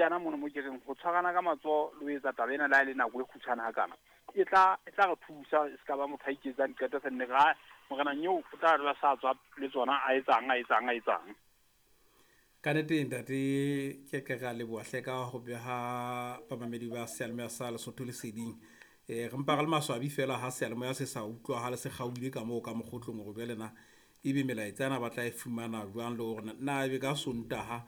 yana mono mo ke reng ho tshwarana ka matsoho le ho etsa taba ena le ha e le nako e kgutshwane hakana e tla re thusa e se ka ba motho a iketsang diqeto se nne ra morena nyeo o tla dula sa tswa le tsona a etsang. Ka nnete ntate ke ke ra leboha hle ka ho beha bamamedi ba seyalemoya sa Lesotho leseding. Re mpa re le maswabi fela ha seyalemoya se sa utlwahale se kgaohile ka moo ka mokgotlong hore jwale na ebe melaetsa ena ba tla e fumana jwang le hore na ebe ka Sontaha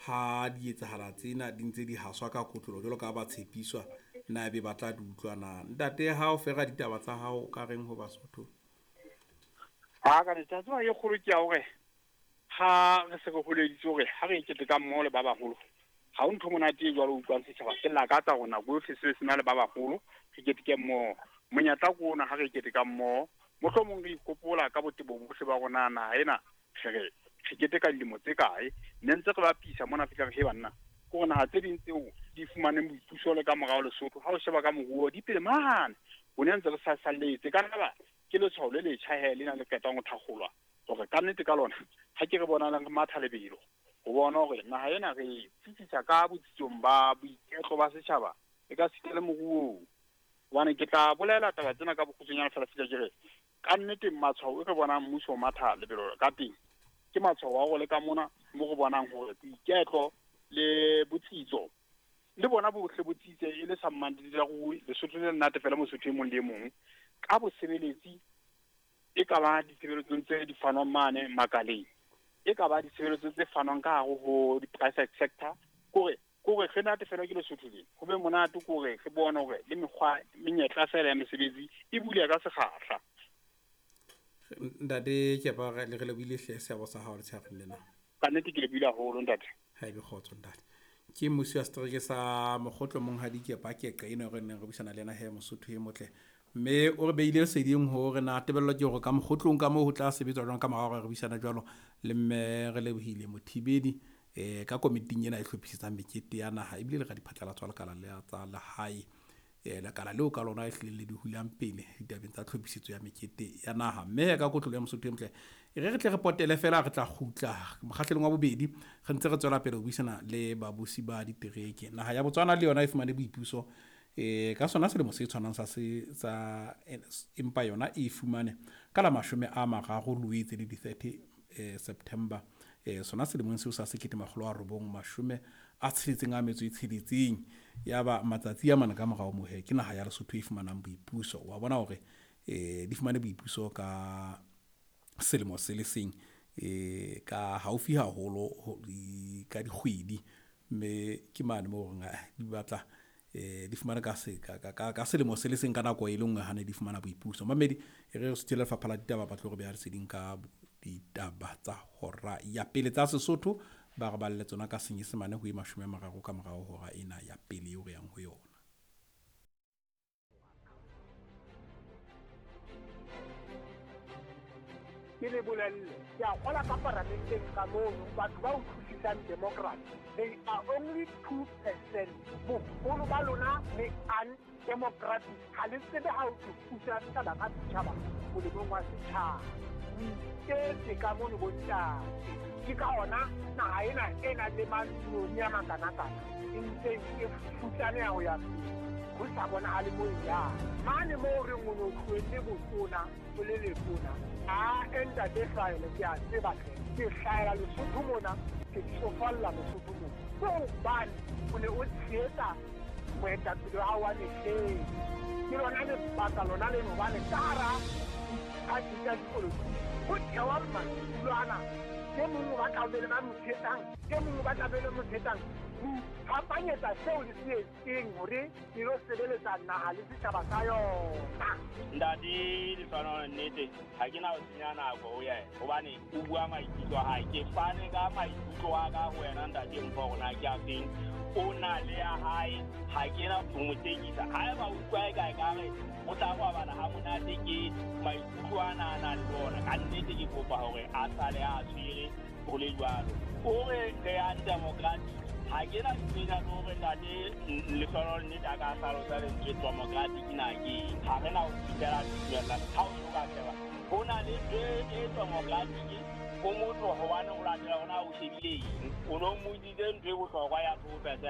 ha di etsahala tsena di ntse di haswa ka kotlolo jwalo ka ba tshepiswa na ebe ba tla di utlwa na. Ntate ha o fera ditaba tsa hao ka reng ho Basotho? Ha ka letsatsi e kgolo ke ya hore ha re se re holeditse hore ha re ikete ka mmoho le ba baholo ha o ntho monate e jwalo utlwang setjhaba se lakatsa hore nako yohle se se na le ba baholo re keteke mmoho. Monyetla ke ona ha re keteka mmoho, mohlomong re ikopola ka botebo bohle ba rona naha ena re keteka dilemo tse kae, ne ntse re bapisa mona fihla re he banna ke hore naha tse ding tseo di fumaneng boipuso le ka morao Lesotho ha o sheba ka moruo di pele mane o ne ntse re sa salletse. Ka nna ke letshwao le letjha he lena le qetang ho thakgolwa hore ka nnete ka lona ha ke re bonalang re matha lebelo ho bona hore naha ena re tsitsisa ka botsitsong ba boiketlo ba setjhaba e ka sita le moruong. Hobane ke tla bolela taba tsena ka bokgutshwanyane fela fihla ke re ka nnete matshwao e re bonang mmuso o matha lebelo ka teng ke matshwao a hore le ka mona mo re bonang hore boiketlo le botsitso le bona bohle botsitse e le sa mmandile rui Lesotho le nnate fela Mosotho e mong le e mong ka bosebeletsi e ka ba ditshebeletsong tse di fanwang mane makaleng, e ka ba ditshebeletso tse fanwang ka hare ho di-private sector kore re nate fela ke Lesotho le ho be monate kore re bone hore le mekgwa menyetla fela ya mesebetsi e buleha ka sekgahla. Ntate ke ba re le lebohile hle seabo sa hao letshehareng lena. Ka nnete ke lebohile haholo ntate. Ha ebe kgotso ntate. Ke mmusi wa setereke sa Mokgotlo monghadi Kepa Keqe eno re neng re buisana le yena he Mosotho e motle. Mme o re beile leseding hore na tebello ke hore ka mokgotlong ka moo ho tla sebetswa jwang ka morao hore re buisana jwalo le mme re lebohile Mothibedi ka komiting ena e hlophisetsang mekete ya naha ebile le radiphatlalatso wa lekala le tsa lehae lekala leo ka lona e hlileng le di hulang pele ditabeng tsa tlhophisetso ya mekete ya naha. Mme ka kotlolo ya Mosotho e motle e re tle re potele fela re tla kgutla mokgahlelong wa bobedi re ntse re tswela pele ho buisana le babusi ba ditereke. Naha ya Botswana le yona e fumane boipuso ka sona selemo se tshwanang sa sa empa yona e fumane ka la 30 Loetse le di 30 September sona selemong seo sa 1966 ya ba matsatsi a mane ka morao mohe ke naha ya Lesotho e fumanang boipuso. Wa bona hore di fumane boipuso ka selemo se le seng ka haufi haholo ka dikgwedi mme ke mane moo reng di batla di fumane ka selemo se le seng ka nako e le nngwe ha ne di fumana boipuso. Mamedi e re suthele lefapha la ditaba ba tlo re beha leseding ka ditaba tsa hora ya pele tsa Sesotho ba re balle tsona ka Senyesemane ho e 30 ka morao hora ena ya pele eo re yang ho yona. Ke le bolelle ke a kgola ka paramenteng ka mono batho ba utlwisisang democracy they are only 2%. Boholo ba lona le undemocratic ha le tsebe ha o thusa setjhaba ka setjhaba molemong wa setjhaba. O iketse ka mono bontate ke ka ona naha ena e nang le mantsione a makanakana e ntse e futsaneha ho ya pele ho sa bonahale mo e yang. Mane moo re o no tlohelle botona o le letona a ntate hlahele ke a tseba hle ke hlahela Lesotho mona ke tsofalla Lesotho mona ke hobane o ne o tshehetsa moetapele wa hao wa mehleng. Ke lona lebaka lona leno hobane ka hara diphathi tsa dipolotiki ho thewa madulo ana e mong o batla ho be le ba mo tshehetsang, e mong o batla be le mo tshehetsang ho iphapanyetsa seo le se etseng hore le lo sebeletsa naha le setjhaba sa yona. Ntate Lefano nnete ha ke na ho senya nako ho yena hobane o bua maikutlo a hae. Ke fane ka maikutlo a ka ho wena ntate Mpho hore na ke a feng. O na le ya hae ha ke na ho mo tekisa. Haeba o utlwa e kae ka re o tla robala ha monate ke maikutlo ana a nang le ona. Ka nnete ke kopa hore a sale a tshwere ho le jwalo. O re re ya democratic ha ke na tsena hore ntate Lefano nnete a ka hlalosa lentswe democratic na ke ha re na ho fihlela tumella ha o ka sheba ho na le ntho e democratic o motho hobane o latela hona o shebile eng o no mmotsitse ntho e bohlokwa ya 2%.